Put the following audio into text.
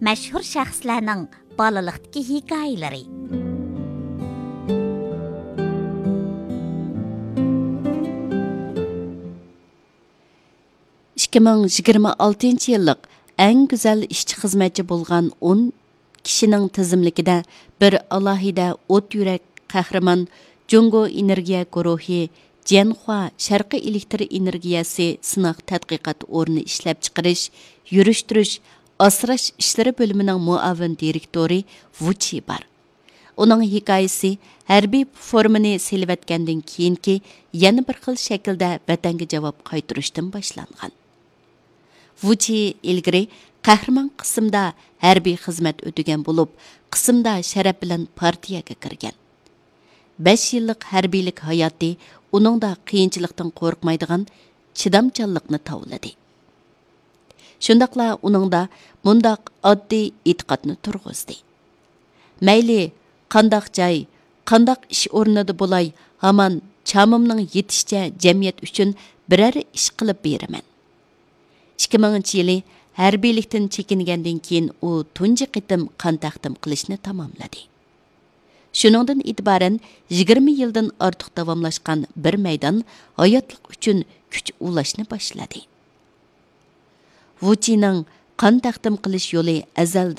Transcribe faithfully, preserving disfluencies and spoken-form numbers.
مەشھۇر شەخسلەرنىڭ بالىلىقتىكى ھېكايىلىرى. ئىككى مىڭ يىگىرمە ئالتىنچى يىللىق ئەڭ گۈزەل ئىشچى خىزمەتچى بولغان ئون كىشىنىڭ تىزىملىكىدە بىر ئالاھىدە ئوت يۈرەك قەھرىمان، جۇڭگو ئېنېرگىيە گۇرۇھى، جيەنخۇا شەرقىي ئېلېكتر ئېنېرگىيەسى سىناق تەتقىقات ئورنى ئىشلەپچىقىرىش، يۈرۈشتۈرۈش، ئاسراش ئىشلىرى بۆلۈمىنىڭ مۇئاۋىن دىرېكتورى ۋۇ چى بار. ئۇنىڭ ھېكايىسى ھەربىي فورمىنى سېلىۋەتكەندىن كېيىنكى يەنە بىر خىل شەكىلدە ۋەتەنگە جاۋاب قايتۇرۇشتىن باشلانغان. ۋۇ چى ئىلگىرى قەھرىمان قىسىمدا ھەربىي خىزمەت ئۆتىگەن بولۇپ، قىسىمدا شەرەپ بىلەن پارتىيەگە كىرگەن. بەش يىللىق ھەربىيلىك ھاياتى ئۇنىڭدا قىيىنچىلىقتىن قورقمايدىغان چىدامچانلىقنى تاۋلىدى. شۇنداقلا ئۇنىڭدا مۇنداق ئاددىي ئېتىقادنى تۇرغۇزدى: مەيلى قانداق جاي، قانداق ئىش ئورنىدا بولاي، ھامان چامىمنىڭ يېتىشىچە جەمئىيەت ئۈچۈن بىرەر ئىش قىلىپ بېرىمەن. ئىككى مىڭىنچى يىلى ھەربىيلىكتىن چېكىنگەندىن كېيىن ئۇ تۇنجى قېتىم قان تەقدىم قىلىشنى تاماملىدى. شۇنىڭدىن ئېتىبارەن يىگىرمە يىلدىن ئارتۇق داۋاملاشقان بىر مەيدان ھاياتلىق ئۈچۈن كۈچ ئۇلاشنى باشلىدى. ۋۇ چىنىڭ قان تەقدىم قىلىش يولى ئەزەلدىن